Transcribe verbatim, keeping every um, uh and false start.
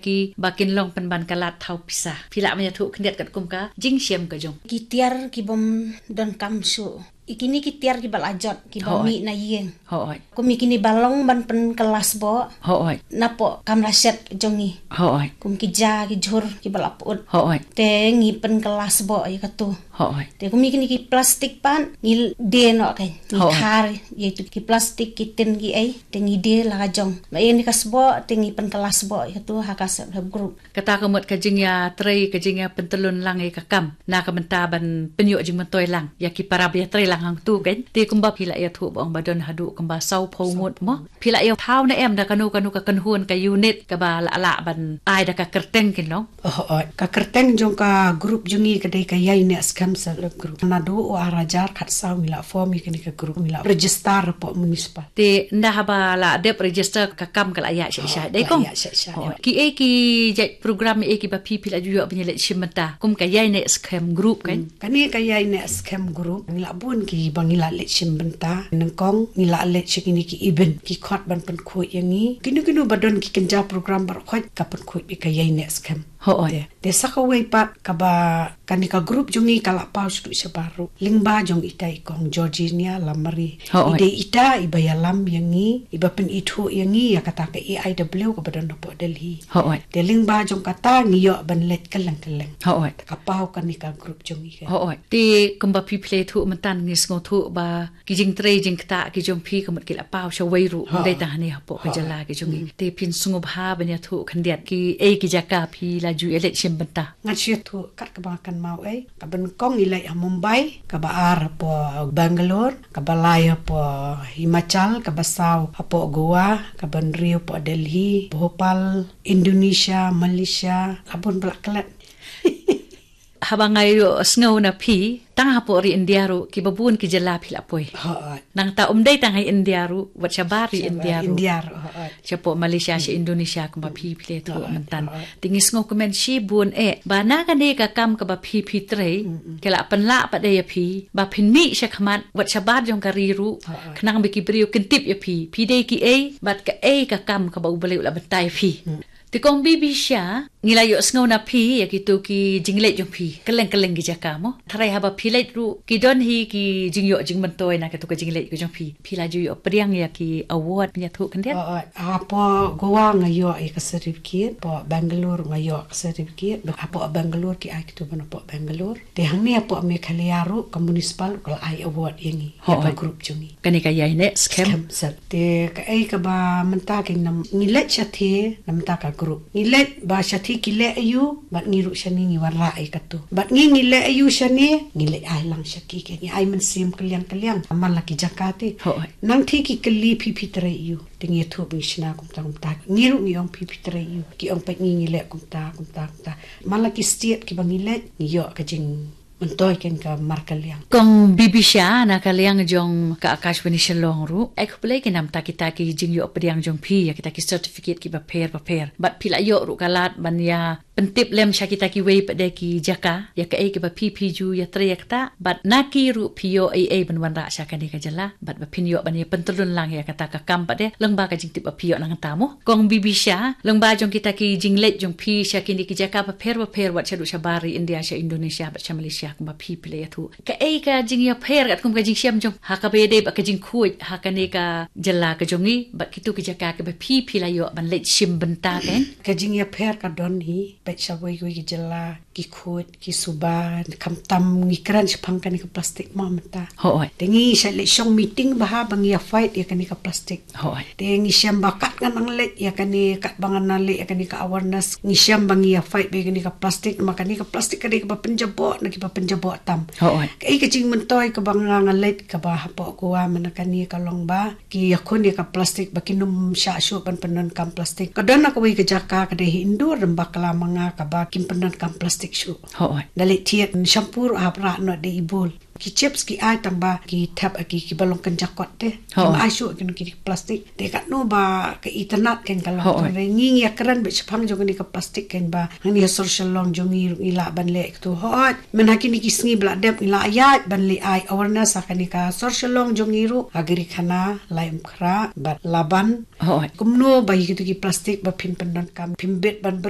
Ki ba kin long pynban ka lad thaw pisa. Phi lah ban ïathuh khyndiat katkum ka jingshem ka jong. Ki tiar ki bym don kam shuh. I kine ki tiar ki ba la jot, ki ba mih na ïing. Hooid. Kum i kine ba long ban pynkylla sboh. Hooid. Napoh kam la shet jong ngi. Hooid. Kum ki ja ki jhur ki ba la put. Hooid. Te ngi pynkylla sboh ïa katu. Hooid. Te kum i kine ki plastik pat ngi die noh ka. Ngi khar ïa itu ki plastik ki tin ki ei. Te ngi die la ka jong. Ba ïa kane ka sboh te ngi pynkylla sboh ïa katu ha ka self help group. Kata ka mut ka jingïatrei, ka jingïapyntylun lang ïa ka kam. Na ka bynta ban pynïoh jingmyntoi lang ïa ki para ba ïatrei lang hangtu kan. Te kumba phi la ïathuh ba ong ba don haduh kumba saw phew ngut mo. Phi la ïathuh ne em da kano kano ka kynhun ka unit kaba la lah ban ai da ka kyrteng kin long. Hooid. Ka kyrteng jong ka group jong ngi ka dei ka Ïai Neh Skhem Self Help Group. Naduh u ar hajar khatsaw ngi la form ïa kane ka group, ngi la register hapoh municipal. Te ynda haba la dep register ka kam ka la ïaid sha sha dei kong. Ïaid sha sha. Hooid. Ki ei ki jait program ei ki ba phi phi la ju ïoh ban ïaleit shim bynta kum ka Ïai Neh Skhem group kan. Kane ka Ïai Neh Skhem group ngi la bun ki ba ngi la leit shim bynta. Nyngkong ngi la leit sha kine ki event, ki khot ban pynkhuid ïa ngi. Kino kino ba don ki kynja program baroh khoit ka pynkhuid bad ka Ïai Neh Skhem. Hooid. Te, te sa kawei pat kaba kane ka group jong ngi ka la paw shaduh shabar ruh. Lyngba jong ita i kong Georgina Lamari. Hooid. I dei ita i ba ïalam ïa ngi, i ba pynithuh ïa ngi ïa kata ka A I W kaba don hapoh Delhi. Hooid. Te lyngba jong kata ngi ïoh ban leit kylleng kylleng. Hooid. Ka paw kane ka group jong ngi ka. Hooid. Te kumba phi phi la ïathuh mynta ngi sngewthuh ba ki jingtrei jingktah ki jong phi ka mut ki la paw shawei ruh. Hooid. Ym dei tang hangne hapoh ka jylla ki jong ngi. Te phin sngewbha ban ïathuh khyndiat ki ei ki jaka phi la ju ïaleit shim bynta. Ngan shu ïathuh kat kaba nga kynmaw ei. Kaba nyngkong ngi leit ha Mumbai, kaba ar hapoh Bangalore, kaba lai hapoh Himachal, kaba saw hapoh Goa, kaba hynriew hapoh Delhi, Bhopal, Indonesia, Malaysia, la bun ba la klet. Haba nga ïohsngew na phi, tang hapoh ri India ruh kiba bun ki jylla phi la poi. Hooid. Nangta ym dei tang ha India ruh, wat shabar ri India ruh. India ruh, hooid. Shapoh Malaysia, sha Indonesia kumba phi phi la ïathuh mynta. Hooid. Te ngi sngewkmen shibun eh ba na kane ka kam kaba phi phi trei, ka la pynlah pat ïa phi ba phin mih shakhmat wat shabar jong ka ri ruh. Hooid. Khnang ba ki briew kin tip ïa phi, phi dei ki ei bad kaei ka kam kaba U Blei u la bynta ïa phi. Te kong Bibisha, ngi la ïohsngew na phi ïa kito ki jingleit jong phi kylleng kylleng ki jaka mo. Tharai haba phi leit ruh ki don hi ki jingïoh jingmyntoi na kito ki jingleit ki jong phi. Phi la ju ïoh pdiang ïa ki award, phin ïathuh khyndiat? Hooid. Hapoh Goa nga ïoh ïa ka certificate, hapoh Bangalore nga ïoh ka certificate. Hapoh Bangalore ki ai kito ban hapoh Bangalore. Te hangne hapoh Meghalaya ruh ka municipal ka la ai award ïa ngi, ïa ka group jong ngi. Kane ka Ïai Neh Skhem. Skhem Self. Te kaei kaba mynta ka nam ngi leit shathie na mynta ka group. Ngi leit ba shathie ki leh aiu bad ngi ruh shane ngi wanrah ïa katu. Bad ngi ngi leh aiu shane ngi leit ai lang sha ki, ngi ai mynsiem kylliang kylliang man la ki jaka te. Hooid. Nang thie ki kylli phi phi trei aiu. Te ngi ïathuh ba ngi shna kumta kumta. Ngi ruh ngi ong phi phi trei aiu. Ki ong pat ngi ngi leh kumta kumta kumta. Man la ki state kiba ngi leit ngi ïoh ka jingmyntoi kein ka markylliang. Kong Bibisha na ka liang jong ka Akashvani Shillong ruh, ai khublei kein namta kita ki jingïoh pdiang jong phi ïa kita ki certificate kiba pher bapher. Bad phi la ïoh ruh ka lad ban ïa pyntip lem sha kita kiwei pat de ki jaka ïa kaei kiba phi phi ju ïatrei ïa kata, bad na ki ruh phi ïoh ei ei ban wanrah sha kane ka jylla. Bad ba phin ïoh ban ïa pyntylun lang ïa kata ka kam pat de lyngba ka jingtip ba phi ïoh nangta mo. Kong Bibisha, lyngba jong kita ki jingleit jong phi sha kine ki jaka bapher bapher wat shaduh shabar ri India, sha Indonesia bad sha Malaysia kumba phi phi la ïathuh. Kaei ka jingïapher katkum ka jingshem jong ha kaba ïadei bad ka jingkhuid ha kane ka jylla ka jong ngi bad kito ki jaka kiba phi phi la ïoh ban leit shim bynta kein? Ka jingïapher ka don hi, peit sha wei wei ki jylla ki khuid, ki suba, khamtam ngi kren shaphang kane ka plastik mo mynta. Hooid. Te ngi shait leit shong meeting bha ba ngi ïa fight ïa kane ka plastik. Hooid. Te ngi shem ba kat ngan nang leit ïa kane, kat ba ngan nang leit ïa kane ka awareness, ngi shem ba ngi ïa fight bha ïa kane ka plastik, namar kane ka plastik ka dei kaba pynjaboh na kiba pynjaboh tam. Hooid. Kaei ka jingmyntoi kaba nga nga leit kaba hapoh Goa mynta kane ka long ba ki ïakhun ïa ka plastik ba kin ym shah shuh ban pyndonkam plastik. Ka don na kawei ka jaka ka dei hi Indore, Rembakla, ma nga kaba kim pyndonkam plastik. Shuh. Hooid. Da leh thied shampoo ruh hap rah noh da i bowl. Ki chips ki ai tang ba ki thep ha ki, ki ba long kynja kot te. Hooid. Kim ai shuh kino kino ki plastik. Te katno ba ka itynnad kein ka long. Hooid. Te ngi ngi ïakren beit shaphang jong kane ka plastik kein ba hangne ha Sor Shillong jong ngi ruh ngi lah ban leh katto. Hooid. Mynta ha kine ki sngi ba la dep ngi la ïaid ban leh ai awareness ha kane ka Sor Shillong jong ngi ruh ha Garikhana, Laitumkhrah bad Laban. Hooid. Kumno ba ïa kito ki plastik ba phin pyndonkam, phim bit ban bret.